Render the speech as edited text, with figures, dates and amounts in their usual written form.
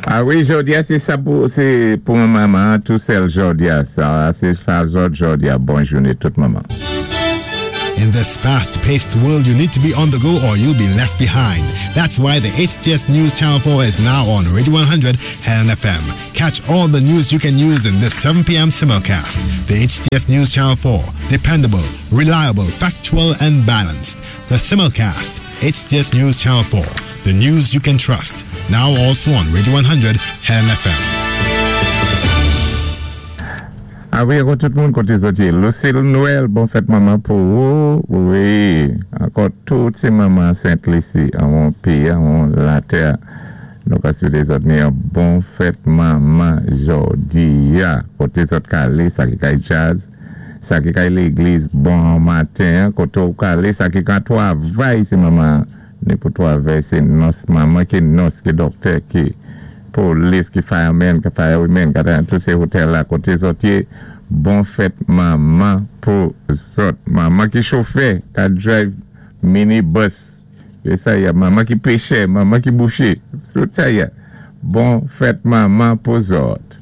A wi, jòdi-a sé sa pou sé pou manman tou sèl jòdi-a sa sé sa zòt jòdi-a. Bon jouné tout manman. In this fast-paced world, you need to be on the go or you'll be left behind. That's why the HTS News Channel 4 is now on Radio 100 Helen FM. Catch all the news you can use in this 7 p.m. simulcast. The HTS News Channel 4. Dependable, reliable, factual, and balanced. The simulcast. HTS News Channel 4. The news you can trust. Now also on Radio 100 Helen FM. A wi, ankò tout moun koté zòt yé. Lucille Noël, bon fèt manman pou ou. Wi, ankò tout sé manman Sent Lisi anwon péyi, anwon latè. Nou ka swété zòt ni yon bon fèt manman jòdi-a. Koté zòt ka alé, sa ki kay djaz, sa ki kay légliz bon maten, koté ou ka alé, sa ki ka twavay, sé manman ni pou twavay, sé nòs manman ki nòs, ki dòktè, ki polis, ki fireman, ki firewomen, tout sé hotèl la, koté zòt yé, bon fèt manman pou zòt. Manman ki chofè, ka drive minibus, sé sa ya, manman ki péchè, manman ki bouché, tout sa ya. Bon fèt manman pou zòt.